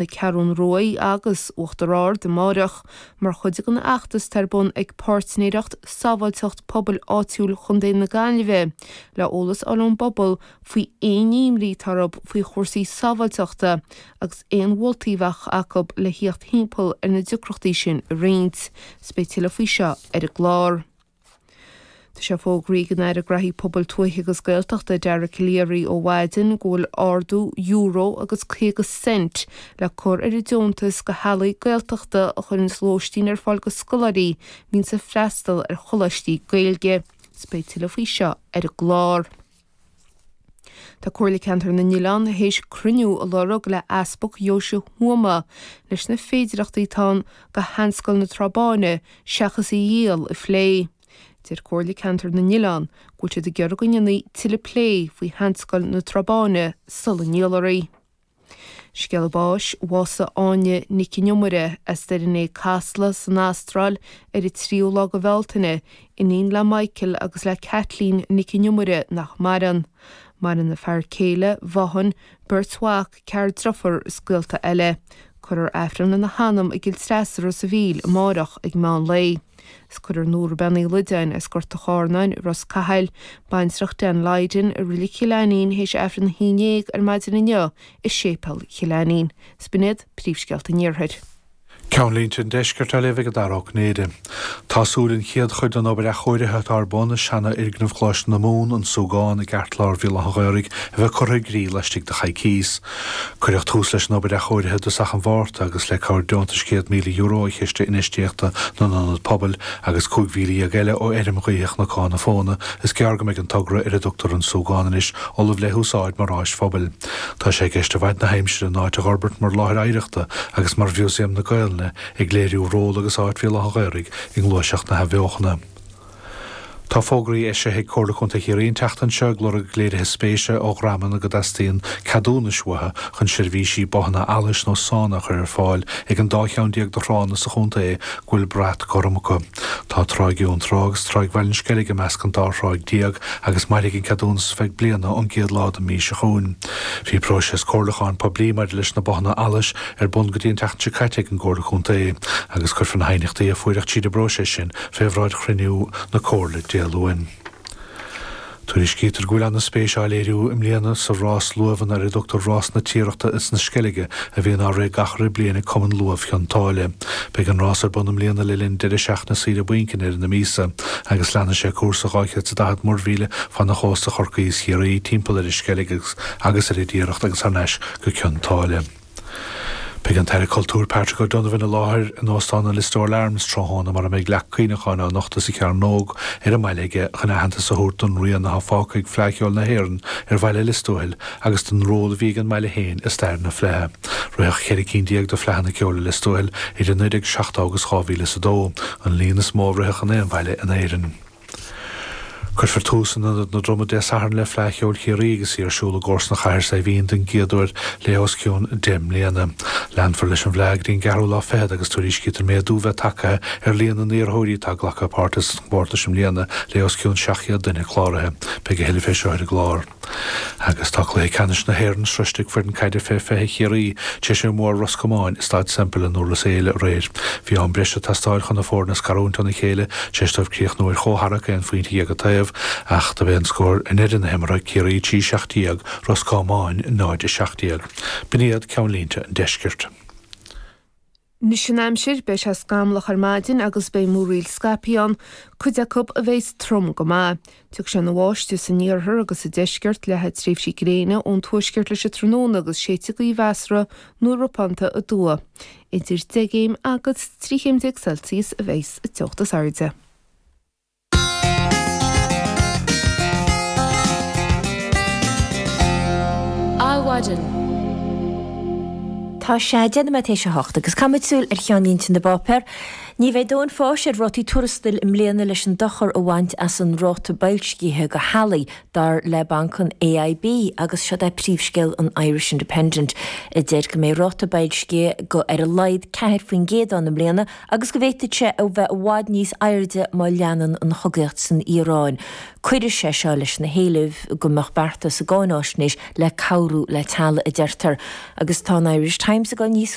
na Ceathrún Ruaidh agus Uachtar Ard amáireach mar chuid den fheachtas atá ar bun ag Páirtnéireacht Sábháilteacht Pobail Áitiúil Chontae na Gaillimhe le eolas a fháil ón bpobal faoi aon imní atá orthu faoi chúrsaí sábháilteachta agus aon mholtaí a bheadh acu le thíocht thimpeall ar na deacrachtaí sin a roinnt. 'S beidh tuilleadh faoi seo ar an gclár. Tá sé fógraithe ag an Aire Graithí Pobail Tuaithe agus Gaeltachta, Dara Calleary ó mhaidin go bhfuil ardú euro agus 50 cent le cur ar an deontas go theaghlaigh Gaeltachta a chuireanns lóistín ar fáil go scoláirí a bhíonns ag freastal ar choláistí Gaeilge. 'S beidh tuilleadh faoi seo ar an gclár. Tá Comhairle Ceantar na nOileán théis cruinniú a lorg le Easpag Dheoise Thuama leis na féidireachtaí atá ann do Sheanscoil na Trá Báine seachas í a dhíol a phlé. Deir Comhairle Ceantar na nOileán go bhfuil siad ag iarraidh go ndéanfaí tuilleadh plé faoi Sheanscoil na Trá Báine sula ndíolfar í. Scéala báis, Bhásaigh Áine Nic an Iomaire as Doire an Fhéich Casla san Astráil ar an tríú lá de Bhealtaine, iníon le Michael agus le Kathleen Nic an Iomaire nach maireann. Maireann a fear céile, Vaughan, beirt mhac, ceathrar driofúr is gaolta eile. Cuirfear Aifreann lena hanam i gCill Treasa Ros a' Mhíl amárach ag meán lae. 'S cuirfear Nóra Bean Uí Loideáin as Gort a' Chárnáin i Ros Cathail, baintreach Dan Lydon i Reilig Chill Ainnín théis Aifreann a haon dhéag ar maidin inniu i Séipéal Chill Ainnín. 'S b'in iad príomhscéalta an Iarthair. Ceannlínte an Deiscirt á léamh ag Dara Ó Cinnéide. Tá súil an chéad chuid den obair athchóirithe atá ar bun i seana-fhoirgneamh Choláiste na Mumhan, An Súgán, i gceartlár Bhéal Átha an Ghaorthaidh a bheith curtha i gcrích laistigh de choicís. Cuireadh tús leis an obair athchóirithe i dtosach an Mhárta agus le cabhair deontais €100,000 ó Chiste Infheistíochta na nIonad Pobail agus 15,000 eile ó Fheirm Ghaoithe Chnocán na Fóna, is gearr go mbeidh an togra, ar a dtugtar An Súgán anois, ullamh le húsáid mar áis phobail. Tá sé i gceist i bhfaid na haimsire an áit a dh'fhorbairt mar láthair oidhreachta agus mar Mhúsaem na Gaelainne ag léiriú ról agus áit Bhéal Átha an Ghaorthaidh i ngluaiseacht na hathbheochana. Tá fógraí eisithe ag Comhairle Contae Chiarraí an tseachtain seo ag lorg léirithe spéise ó dhreamanna go dteastaíonn ceadúnais uathu chun seirbhísí bothanna allais nó sána a chur ar fáil ag an dá cheann de thránna sa chontae go bhfuil brat gorm acu. Tá Tráigh Fhionntrá agus Tráigh Bhaile an Sceilg i measc an dá thráigh agus mairfidh an ceadúnas ar feadh bliana ón gcéad lá den mhí seo chugainn. Bhí próiseas comhairliúcháin poiblí maidir leis na bothanna allais ar bun go dtí an tseachtain seo caite ag an gComhairle Contae agus cuirfear na haighneachtaí a fuaireadh tríd an bpróiseas sin fé bhráid chruinniú na Comhairle Dé Luain. Tuairiscítear go bhfuil ana-spéis á léiriú i mbliana sa rás luamhanna ar a dtugtar Rás na Tiarachta is na Sceilge a bhíonn á rith gach re bliain ag Cumann Luamh Chionn tSáile. Beidh an rás ar bun i mbliana le linn deireadh seachtaine saoire bainc i ndeireadh na míosa agus leanfaidh sé cúrsa 240 muirmhíle fan chósta Chorcaí is Chiarraí, timpeall ar an Sceilg agus ar an dTiaracht agus thar n-ais go Cionn tSáile. Beidh an tAire Cultúir Patrick O'Donovan i láthair in Óstán an Listowel Arms tráthnóna mar a mbeidh leac cuimhneacháin á nochtadh sa Chearnóg ar an mbaile aige chun aitheantas a thabhairt don rian atá fágtha ag Fleadh Cheoil na hÉireann ar bhaile Lios Tuathail agus don ról a bhí ag an mbaile féin i stair na Fleidhe. Ritheadh 14 cinn de Fhleadhanna Ceoil i Lios Tuathail idir 1970 agus 2002, an líon is mó a ritheadh in aon bhaile in Éirinn. Cuirfear tús in Ionad na Droma Dé Sathairn le Fleadh Cheoil Chiarraí agus í ar siúl i gcomharsanacht Chathair Saidhbhín den gcéad uair le os cionn 10 mbliana. Leanfar leis an bhFleadh go dtí an gceathrú lá fichead agus tuairiscítear méadú bheith tagtha ar líon na n-iarrthóirí atá ag glacadh páirte sa chomórtas i mbliana le os cionn 700 duine cláraithe. Beidh a thuilleadh fé seo ar an gclár. Agus tá cluiche ceannais na hÉireann sroiste ag foireann caide fé 20 Chiarraí tar éis a mbua ar Ros Comáin i Staid Semple i nDurlas Éile aréir. Bhí am breise ag teastáil chun na foirne a scarúint óna chéile tar éis dóibh críochnú ar chomhtharrac aon phointe dhéag an taobh ach dob é an scór i ndeireadh na himeartha, Ciarraí 3 17, Ros Comáin 0 17. B'in iad ceannlínte an deiscirt. Anois an aimsir, beidh sé scamallach ar maidin agus beidh múraíl scaipthe ann, cuid acu a bheas trom go maith. Tiocfaidh sé ina bháisteach san iarthar agus sa deisceart, leathfaidh tréimhsí gréine ón tuaisceart leis an tráthnóna agus séidfidh gaoth mheasartha nó ropánta aduaidh. Idir 10 gcéim agus 13 chéim Celsius a bheas an teocht is airde. Adhmhaidin. Tá sé 10 nóiméad théis a hocht agus caithfimid súil ar cheannlínte na bpáipéar. Ní bheidh dóthain fáis ar rátaí tuarastail i mbliana leis an dochar a bhaint as an ráta boilscithe do theaghlaigh, dar le banc an AIB agus seod é príomhscéal an Irish Independent a deir go mbeidh ráta boilscithe go ar a laghad 4% ann i mbliana agus go bhféadfadh sé a bheith i bhfad níos airde má leanann an chogaíocht san Iaráin. Cuirfidh sé seo leis na héilimh go mbeadh bearta sa gcáináisnéis le cabhrú le teaghlaigh, a deirtear. Agus tá an Irish Times. Times ag dul níos.